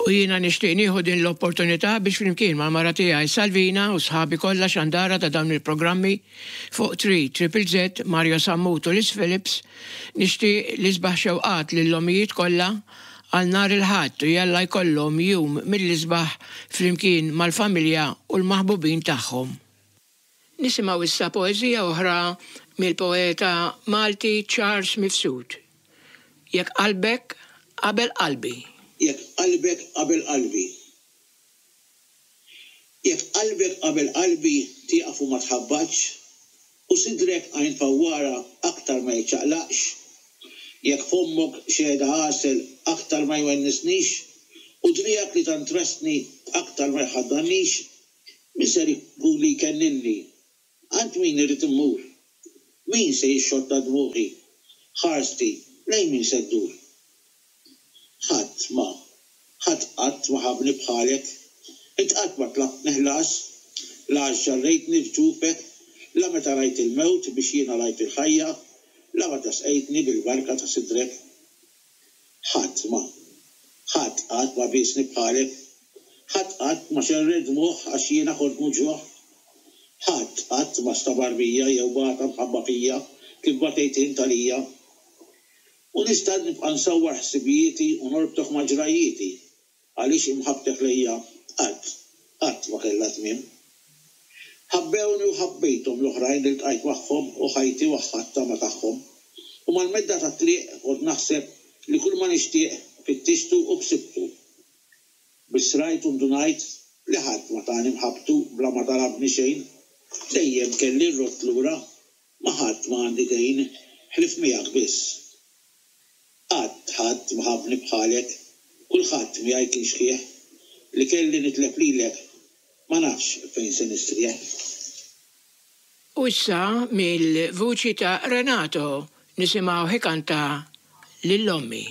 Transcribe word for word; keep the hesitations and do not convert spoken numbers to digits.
U jiena nixtieq nieħu din l-opportunità biex flimkien mal-mara tiegħi Salvina u sħabi kollha xandara ta' dawn il-programmi fuq tlieta Triple Z, Mario Sammut u Liz Phillips, nixtieq l-isbaħ xewqat lill-omijiet kollha għal nhar il-Ħadd u jalla jkollhom jum mill-isbaħ flimkien mal-familja u l-maħbubin tagħhom. Nisimgħu issa poeżija oħra mill-poeta Malti Charles Mifsud. Jekk qalbek qabel qalbi. Jekk qalbek qabel qalbi. Jekk qalbek qabel qalbi tieqaf u ma tħabbatx, u sidrek għajn fawwara aktar ma jiċċaqlaqx, jekk fommok xehda għasel aktar ma jwennisnix, u driegħek li tant ressni aktar ma jħaddannix, min ser ikun li jkenninni? Għand min irrid immur? Min se jixxotta dmuħi? Ħarsti lejn min se ddur? Ħadd ma, ħadd qatt ma ħabbni bħalek, int qatt ma tlabtni ħlas, la għax ġarrejtni f'ġufek, la meta rajt il-mewt biex jiena rajt il-ħajja, la meta sqejtni bil-barka ta' sidrek. Ħadd ma, ħadd qatt ma biesni bħalek, ħadd qatt ma xerred dmugħ għax jiena kont muġugħ. Ħadd qatt ma stabar bija jew bata mħabba fija kif batejt int għalija. U nista' nibqa' nsawwar ħsibijieti u norbtok ma' ġrajjieti, għaliex imħabbtek lejja qatt, qatt ma kellha tmiem. Ħabbewni u ħabbejthom l-oħrajn li ltqajt magħhom u ħajti waħħadtha ma' tagħhom. U mal-medda tat-triq kont naħseb li kull ma nixtieq fittixtu u ksibtu. Biss rajt u ndunajt li ħadd ma tani mħabbtu bla ma talabni xejn. Dejjem kelli rrodd lura, ma' ħadd ma għandi dejn, ħlief miegħek biss. Qatt ħadd ma ħabbni bħalek, kulħadd miegħi kien xħieħ, li kelli nitlef lilek, ma nafx fejn se nistrieħ. U issa mill-vuċi ta' Renato nisimgħu ikanta lil ommi.